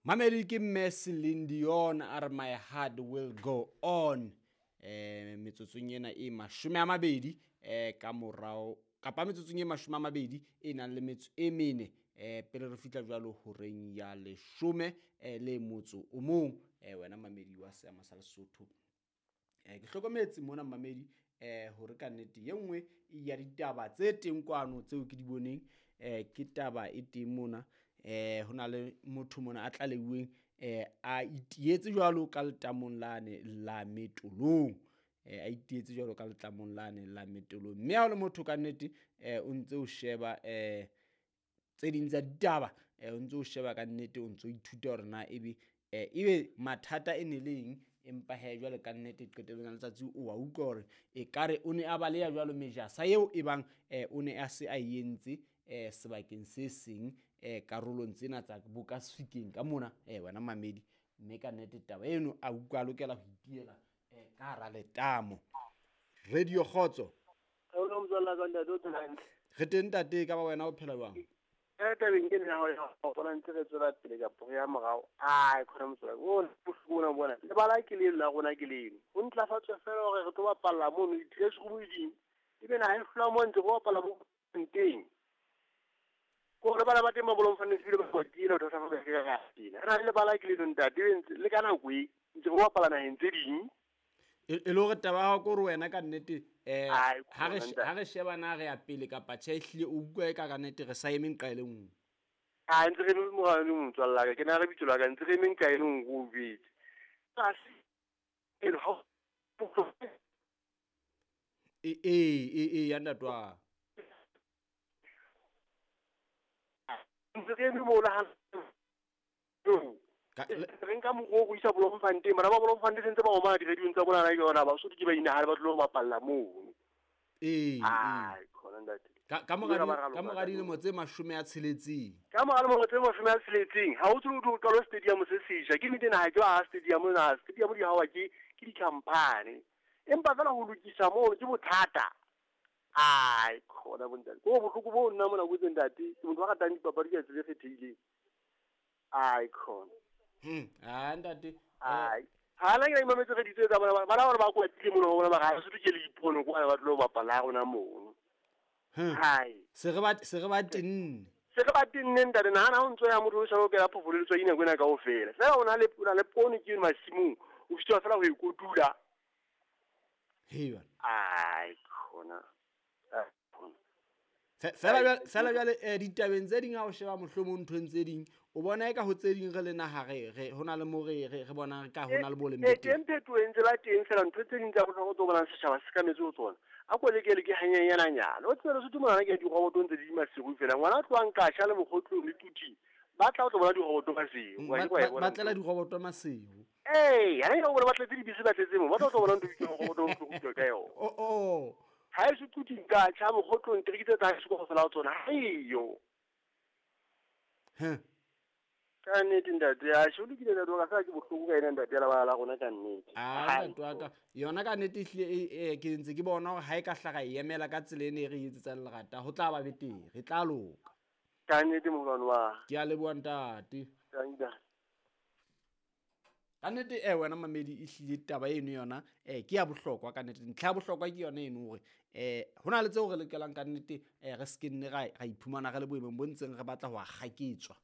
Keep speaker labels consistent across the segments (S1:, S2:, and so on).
S1: Mamedi ke mme Celine Dion a re my heart will go on. Metsotsong ena e 20 ka morao kapa metsotsong e 20 e nang le metso e mene pele re fihla jwalo horeng ya 11 le motso o mong wena mamedi wa seama sa Lesotho. Ke hlokometse mona mamedi hore ka nnete ye nngwe ya ditaba tse teng kwano tseo ke di boneng ke taba e teng mona ho na le motho mona a tlaleuweng a itietse jwalo ka letamong lane la Metolong a itietse jwalo ka letlamong lane la Metolong mme ha o le motho ka nnete o ntse o sheba tse ding tsa ditaba o ntse o sheba ka nnete o ntse o ithuta hore na ebe ebe mathata e ne leng empa he jwale ka nnete qetellong ya letsatsi o wa utlwa hore ekare o ne a baleha jwalo mejasa eo e bang o ne a se a entse sebakeng se seng karolong tsena tsa boka Sefikeng ka mona wena mamedi mme ka nnete taba eno a utlwa a lokela ho itiela ka hara letamo. Radio Kgotso. Re teng ntate, ka ba wena o phela jwang?
S2: Tabeng ke nna ho bona ntse re tswela pele ka pore ya morao. Ai khona motswala o bohloko bona bona lebala ke leno la rona ke leno ho ntlafatswe fela hore re tlo bapalla mono di-dress room ding ebe naha e hlola mo ntse go bapalla mo teng ko re bana ba teng ba Bloemfontein ebile ba kwatile ho thosa ba ka ka tena re na le lebala ke leno ntate le ka nako e ntse go bapala naheng tse ding
S1: e le hore taba ya hao ke hore wena ka nnete ha re sheba na re ya pele kapa tjhe ehlile o utlwa e ka ka nnete re sa eme nqa e le nngwe.
S2: A ntse re eme morao le motswalle wa ka ke na re bitso la ka ntse re eme nqa e le nngwe o jwetse
S1: e ya ntate wa
S2: ntse re eme mola ha re nka mokgwa o go isa Bloemfontein bana ba Bloemfontein sentse ba omana di-radiong tsa bona ke yona Basotho ke ba inahale ba tlilo go bapalla mono. Ai khona ntate
S1: ka mora dilemo tse 60
S2: ka mora dilemo tse 60 ha o tsebe o qalo stadium se sesha ke nnete naha ke ba stadium na stadium di hawa ke di-company empa fela ho lokisa mono ke bothata. Ai khona bontate ko bohloko bo nna mona botse ntate ke motho wa ratang dipapadi ka tsela e kgethehileng. Ai khona
S1: ntate
S2: ai ha la ke mametse re ditse tsa bona bana ba ba kwatile mono bona ba ga se ke le dipono kwa ba tlo bapala rona mono. Hai
S1: se re ba tenne
S2: se re ba tenne ntate na ha o ntso ya motho o sa o kela phofolo le tswa ina kwena kaofela fela o na le poone ke masimong o fitwa fela ho e kotula.
S1: Hei bana
S2: ai khona
S1: fela jwale ditabeng tse ding ha o sheba mohlomong nthong tse ding o bona eka ho tse ding re le naha re hona le mo re bonang ka hona le boleng
S2: teng teng phetoho e ntse ba teng fela ntho tse ding tsa bohlokwa tse o bonang setjhaba se ka metse ho tsona a ko lekele ke hanyenyananyana o tsebe Lesotho monana ke diroboto ntse di masiu fela ngwana a tlohang Kasha le Mokgotlong le Tuting ba tla o tlo bona diroboto masiu
S1: ba tlela diroboto masiu
S2: ee ha ne o bona ba tletse dibese ba tletse mo ba tla tlo bona ntho e roboto o tlo ka yona
S1: o
S2: ha e se Tuting ka tjha Mokgotlong trekitse tsa se go fela tsona ha eyo ka nnete ntate a sho lokile ntate wa ka fela ke bohloko ka ena ntate ya lebala la rona ka nnete.
S1: A ntate wa ka yona ka nnete ehlile ke ntse ke bona hore ha e ka hlaga e emela ka tsela ene e re etsetsang lerata ho tla ba betere re tla loka
S2: ka nnete moholwane wa
S1: ke a leboha ntate. Ka nnete wena mamedi ehlile taba eno yona ke ya bohlokwa ka nnete ntlha ya bohlokwa ke yona eno hore hona le tseo re lokelang ka nnete re se ke nne ra iphumana re le boemong bo ntseng re batla ho akgaketswa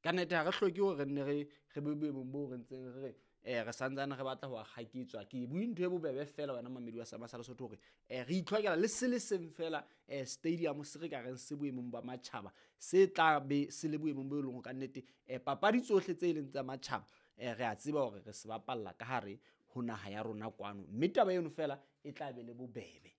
S1: ka nnete ha re hloke hore re nne re be boemong bo re ntseng re re santsane re batla ho akgaketswa ke bue ntho e bobebe fela wena mamedi wa Sama sa Lesotho hore re itlhokela le se le seng fela stadium se re ka reng se boemong ba matjhaba se tla be se le boemong bo e leng ka nnete papadi tsohle tse leng tsa matjhaba re a tseba hore re se bapalla ka hare ho naha ya rona kwano mme taba eno fela e tla be le bobebe.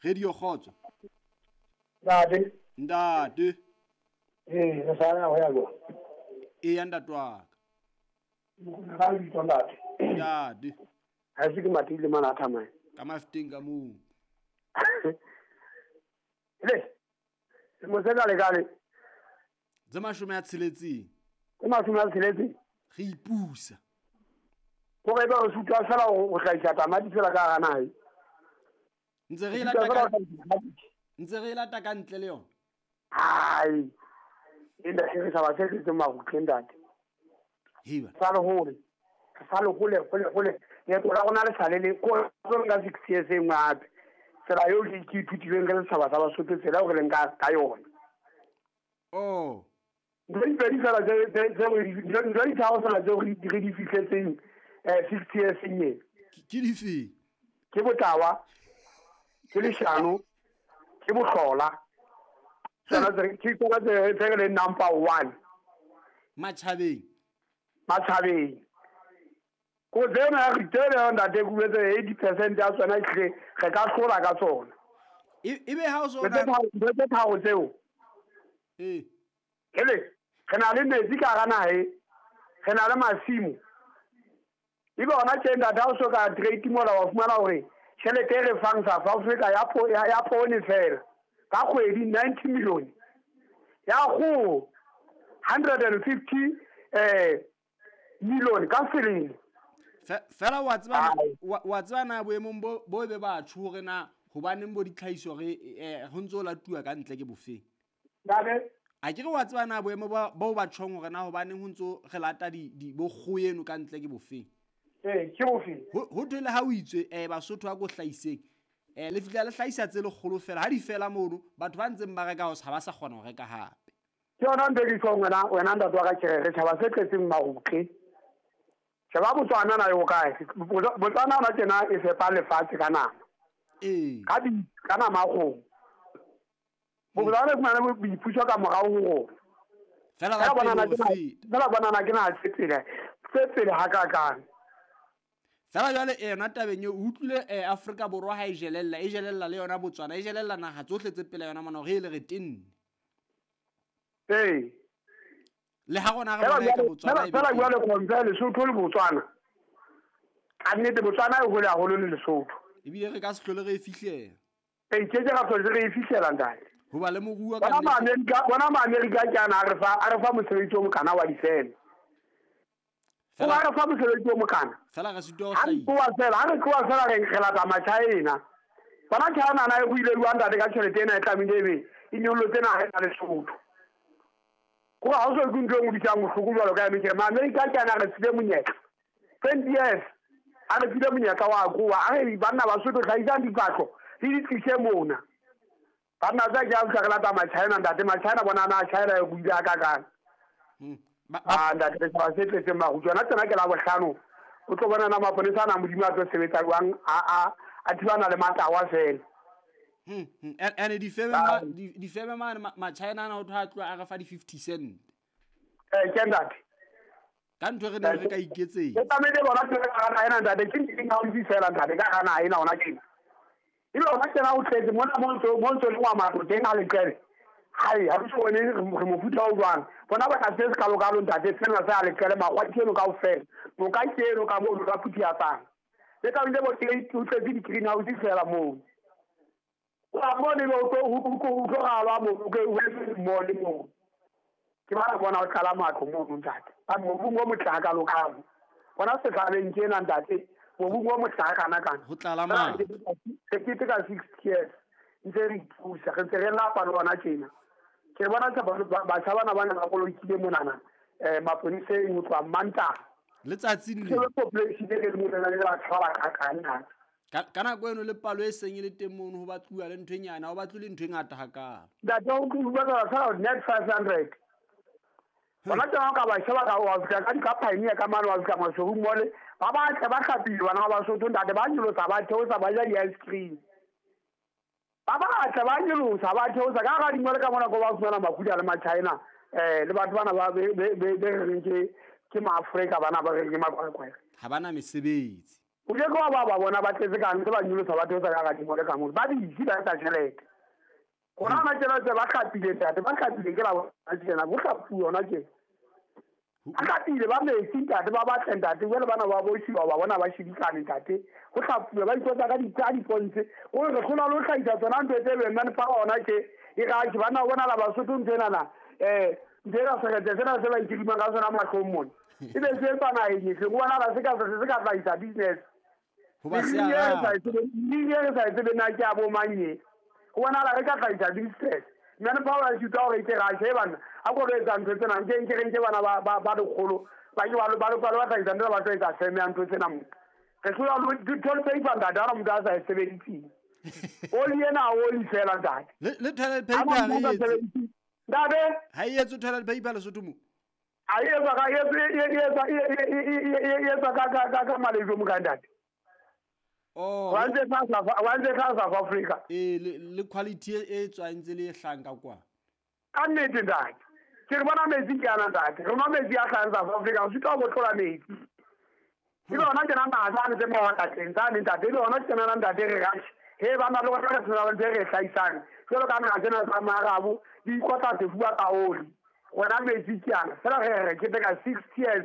S1: Radio Kgotso.
S3: Ntate.
S1: Ntate.
S3: Re sa ya ho ya go.
S1: E ya ntate wa ka.
S3: Ga le bitso ntate.
S1: Ntate.
S3: Ha se ke matile mana thamai.
S1: Ka mafiteng ka moo.
S3: Le. Mo se ka le ka le.
S1: Tse 60.
S3: Tse 60.
S1: Re ipusa.
S3: Gore ba o sutwa fela o hlahisa tamati fela ka hara naha.
S1: Ntse re lata ka ntle le yona.
S3: Ai. Ntate re setjhaba se tletseng marutle ntate.
S1: Heba.
S3: Sa le hole. Sa le hole hole hole. Leeto la rona le sale le ko nka 6 years e nngwe hape. Tsela eo ke ithutileng re setjhaba sa Basotho tsela eo re leng ka yona.
S1: Oh.
S3: Ntho di pedi fela tse ntho di tharo fela tseo re di fihletseng 6 years e.
S1: Ke dife?
S3: Ke botawa, ke leshano, ke bohlola. Tsona ke tsona tse re leng number 1.
S1: Matjhabeng.
S3: Matjhabeng. Ko tsena re tsena ntate ke boletse 80% ya tsona ehlile re ka hlola ka tsona.
S1: Ebe ha o so
S3: ntho tse tharo tseo.
S1: Eh.
S3: Hele, re na le metsi ka hara naha, re na le masimo. Ebe hona tje ntate ha o so ka trade mola wa fumana hore tjhelete e re fang South Africa ya poone fela ka kgwedi 90 million. Ya kgoho 150 million ka selemo.
S1: Fela wa tseba wa tseba na boemong bo be batho hore na hobaneng bo ditlhahiso re ho ntso latuwa ka ntle ke bofeng.
S3: Ntate
S1: a ke re wa tseba na boemo bo ba tjhong hore na hobaneng ho ntso re lata di bo kgoho eno ka ntle ke bofeng.
S3: Ke bofeng.
S1: Ho thwe le ha o itswe Basotho a ko hlahiseng. Le fihla le hlahisa tse lekgolo fela ha di fela mono batho ba ntseng ba reka ho sa ba sa kgona ho reka hape.
S3: Ke yona ntho e ke tjhong wena ntate wa ka ke re tjhaba se tletseng marutle. Sheba Botswana na yo kae? Botswana ona tjena e fepa lefatshe ka nama.
S1: Ee.
S3: Ka nama ya kgomo. Botswana e fumana boipuso ka morao ho rona.
S1: Fela ba
S3: fela bonana ke na tse pele hakakang.
S1: Fela jwale yona tabeng eo o utlwile Afrika Borwa ha e jelella le yona Botswana e jelella naha tsohle tse pele yona mona hore e le re tenne.
S3: Ee.
S1: Le ha rona re bona ka Botswana e
S3: fela jwale compare Lesotho le Botswana. Ka nnete Botswana e hole haholo le Lesotho.
S1: Ebile re ka se hlole re e fihlela.
S3: Ee, ke ra hlole re e fihlela ntate.
S1: Hoba le moruo ka nnete.
S3: Bona ma-Amerika ke ana a re fa mosebetsi o mokana wa difeme. Fela re fa mosebetsi o mokana.
S1: Fela re sitwa ho hlahisa.
S3: Ha re tloha fela re lata Machina. Bona China na e buile jwang ntate ka tjhelete ena e tlamehile ebe e nyollotse naha ena Lesotho. Ko ha o so ke ntho e ngodisang bohloko jwalo ka eme ke re ma-Amerika ke ana a re file monyetla. 20 years a re file monyetla wa kowa. A re banna Basotho hlahisang diphahlo le di tlise mona. Banna tsa ke a fihla re lata Machina ntate. Machina bona na China e buile hakakang. Ntate re tshaba se tletseng marutle. Yona tsena ke la bohlano. O tlo bona na maponesa ana Modimo a tlo sebetsa jwang a thibana le matawa fela.
S1: Ene difeme mane Machina ana ho thwe a tloha a re fa di-50 cent.
S3: Ke ntate.
S1: Ka ntho re neng re ka iketsetsa.
S3: Ke tlamehile bona ke ka hara ena ntate ke ntho e haufi fela ntate ka hara naha ena hona tjena. Ebe hona tjena o tletse mona mo ntso le wa matlo teng ha leqele. Hai, ha re so bone re mofuta o jwang. Bona ba ka se kalokalo ntate sena se a leqele makgwa ke eno kaofela. Moka ke eno ka moo ka phuthiatsang. Le ka ntse bo teng o tletse di-greenhouse fela moo. Wa bone lo tlo ho tlo ralwa moo ke o etse mo le mo. Ke ba bona o tlala matlo moo ntate. Ba mobung o motle hakalokalo. Bona setjhabeng tjena ntate, mobung o motle hakana kana.
S1: Ho tlala matlo.
S3: Re keteka 6 years. Ntse re ipusa, re ntse re lapa le hona tjena. Ke bona batjha bana ba ne ba kolokile monana maponeseng ho tloha Mantaha.
S1: Letsatsing
S3: le. Ke population e le monana le batho ba bakakang na.
S1: Ka nako eno le palo e seng e le teng mono ho batluwa le ntho e nyane, ha ho batlwe le ntho e ngata hakalo.
S3: Ntate o bua fela net 500. Bona tsena ka ba sheba ka wa fihla ka di-pioneer ka mane wa fihla Maseru mole ba batle ba hlapile bana ba Basotho ntate ba nyolosa ba theosa ba ja di-ice cream. Ba batle ba nyolosa ba theosa ka hara dimole ka mona ko ba fumana makuda le Machina le batho bana ba be reng ke maAfrika bana ba reng ke makwakwa.
S1: Ha bana mesebetsi.
S3: O ke kwa ba bona ba tletse ka ntse ba nyolosa ba theosa ka hara dimole ka mona. Ba busy ba etsa tjhelete. Rona hona tjena tse ba hlapile ntate ba hlapile ke la bona tjena bo hlapuwa hona tjena. Ba hlapile ba metsi ntate ba batle ntate jwale bana ba boshiwa ba bona ba shebisane ntate. Ho hlapuwa ba itlotsa ka dipontshe. O re hlola lo hlahisa tsona ntho tse beng mane fa hona tje e ra ke bana bona la Basotho ntho ena na ntho ena sekete sena se ba ikirimang ka sona mahlong mona. Ebe se etsa naheng efe? Ho bona la se ka hlahisa business.
S1: Ho ba se a
S3: re sa e tsebe na ke a bo mang e. Ho bona la re ka hlahisa business. Manpower e sitwa hore e ke rashe bana a ko re etsa ntho tsena nke nke re nke bana ba lekgolo ba ke ba hlahisa ntho ba tlo etsa feme ya ntho tsena mo re hlola toilet paper ntate ha motho a sa e sebediseng oli ena oli fela ntate
S1: le toilet paper ha e etse
S3: ntate
S1: ha e etse toilet paper Lesotho mo
S3: a e etsa ka e etsa ka Malaysia mo ka ntate.
S1: Oh,
S3: wa ntse tla South Africa
S1: e le quality e tswang tse le hlang ka kwa
S3: ka nnete ntate. Ke re bona metsi ke ana ntate, re nwa metsi a hlahang South Africa, re sitwa ho botlola metsi. E le hona tjena naha tsane tse mawatleng tsane ntate, e le hona tjena ntate re rashe he bana le rona re sena ntho e re e hlahisang jwalo ka naha tsena tsa Maarabo di ikotla sefuba ka oli. Rona metsi ke ana fela re re keteka 6 years.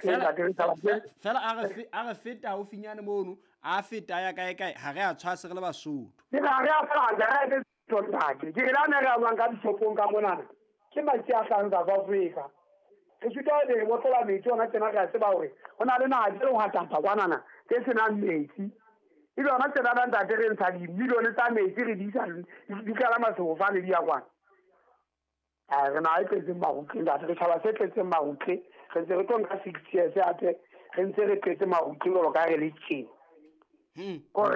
S1: Fela a re feta haufinyane mono a feta ya kae kae ha re a tshwase re le Basotho.
S3: Ke ha re a fela re ntate. Ke re la ne re a buang ka dishopong ka monana ke metsi a hlahang South Africa. Re sitwa re botlola metsi ona tjena re a tseba hore ho na le naha tse hwatata kwanana tse senang metsi. Ebe hona tjena ntate re ntsha dimilione tsa metsi re di isa di kalama sefofane di ya kwana. Re naha e tletseng marutle ntate, re tjhaba se tletseng marutle, re ntse re tlo nka 6 years hape re ntse re tletse marutle jwalo ka re le tjena.